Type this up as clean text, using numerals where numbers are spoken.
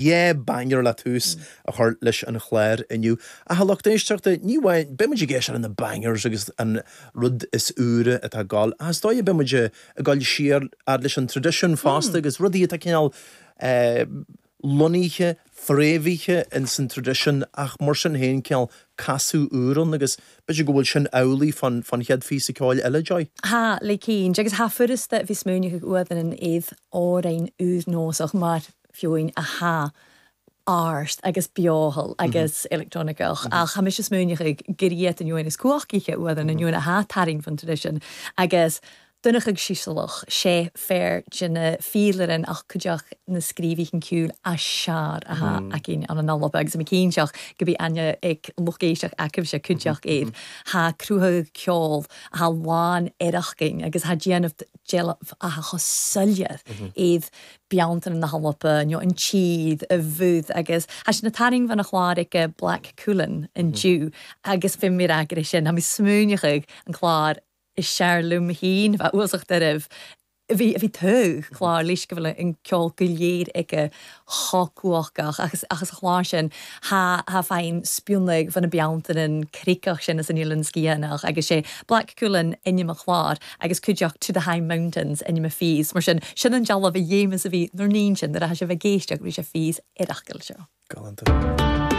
Yeah, banger le tús a chur leis an chlár inniu. Ach a lucht éisteachta, ní amháin, beidh muid ag éisteacht le na bangers agus an rud is úire atá ag gabháil, ach is dóigh beidh muid ag gabháil siar fhad leis an traidisiún fosta agus rudaí atá cineál lonnaithe, fréamhaithe ins an traidisiún ach mar sin féin cineál casadh úr ann agus b'fhéidir go bhfuil sin amhlaidh fán chéad phíosa ceoil eile, Joy? Tha, le cinnte, agus tha furasta bhith smaoineachadh uadainn an aodh òrain ùr-nòsach mar fiúin a tha árst agus beothal agus electroniceach ach tha mise smaoineachadh gur iad an uain is cumhachtaighe uadainn an uain a tha tarraingt fan traidisiún agus Donnchadh Sisealach, sé fear de na fídhlearain ach cuideachd na scríobhaithe ceoil as sear a tha againn ann an Alba agus mi cinnteach go bí aithne ag lucht éisteach agaibhse cuideachd air. Tha cruthadh ceol a tha lán oireachgainn agus tha déanamh deilbh a tha cho soiléir iad beanntan na hAlba nó an tír, a bhúd agus tha sinn a' tarraing bhean a chlár aige Black Cuillin an Dew agus bhí mé ag rá sin, tha mi smaoineachadh an clár is sear liom féin bheith uasach oraibh. Bhí, bhí togha clár leis go bhfuil an ceol go léir aige chomh cumhachtach agus ach sa chlár sin tha, tha feidhm spionnaigh bhean na Bealtaine an cricach sin as an Oileán Sgiathanach agus sé Black Cuillin ainm an chláir agus cuideachta To the High Mountains ainm a phíos. Mar sin, sin an dealbh a dhéamas a bhí nuair níon sin nuair a tha sibh ag éisteacht bhí sé phíos ar acaill seo. Galánta.